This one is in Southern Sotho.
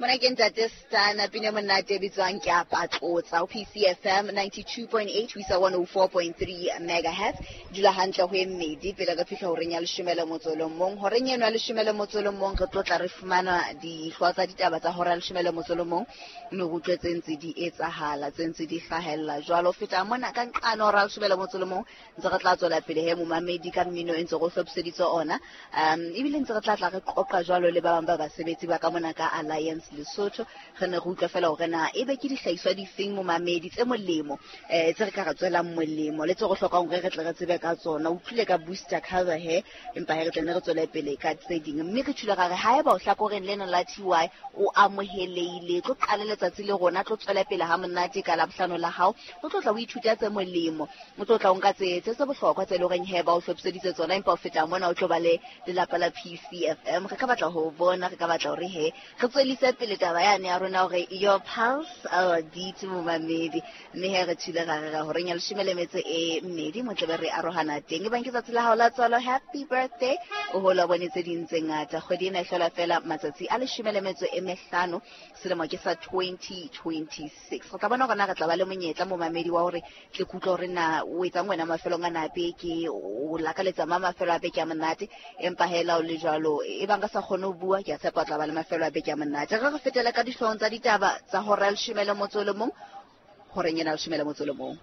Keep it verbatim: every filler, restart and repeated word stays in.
Mona ke ntate Stana pina monate e bitswang ke a patlotsa ho P C F M ninety-two point eight ho isa one oh four point three megahertz. Dula hantle ho e mmedi pele re fihla horeng ya leshome le motso o le mong. Horeng eno ya leshome le motso o le mong re tlo tla re fumana dihlooho tsa ditaba tsa hora ya leshome le motso o le mong, mme re utlwe tse ntse di etsahala, tse ntse di hlahella. Jwalo ho feta mona ka nqane hora ya leshome le motso o le mong ntse re tla tswela pele he momamedi ka mmino e ntse re o hlophiseditse ona. Um ebile ntse re tla tla re qoqa jwalo le ba bang ba basebetsi ba ka mona ka Alliance Lesotho. Re ne re utlwa fela hore na ebe ke dihlahiswa difeng momamedi tse molemo, eh, tse re ka re tswelang molemo le tse re hlokang hore re tle re tsebe ka tsona. O utlwile ka booster cover he, empa he re tle ne re tswele pele ka tse ding. Mme re tjhule ra re haeba o hlakoreng lena la T Y o amohelehile, tlo qala letsatsi le rona, tlo tswela pele ha monate ka Labohlano la hao, o tlo tla o ithuta tse molemo, o tlo tla o nka tse, tse tse bohlokwa tse leng horeng he ba o hlophiseditse tsona, empa o feta mona o tlo ba le lelapa la P C F M. Re ka batla ho bona, re ka batla hore he re tswelise pele taba yane ya rona hore your pulse our beat momamedi. Mme he re thule ra re ra horeng ya leshome le metso e mmedi mo tlebe re arohana teng. Ebang ke tsatsi la hao la tswalo, happy birthday, o hola bone tse ding tse ngata. Kgwedi ena e hlola fela matsatsi a leshome le metso e mehlano, selemo ke sa twenty twenty-six. Re tla bona hore na re tla ba le monyetla momamedi wa hore tle ke utlwe hore na o etsang wena mafelong a na beke, o lakaletsa ma mafelo a beke a monate, empa hela o le jwalo e bang ka sa kgone ho bua, ke a tshepa o tla ba le mafelo a beke a monate. Re re fetele ka dihloohong tsa ditaba tsa hora ya leshome le motso o le mong, horeng ena ya leshome le motso o le mong.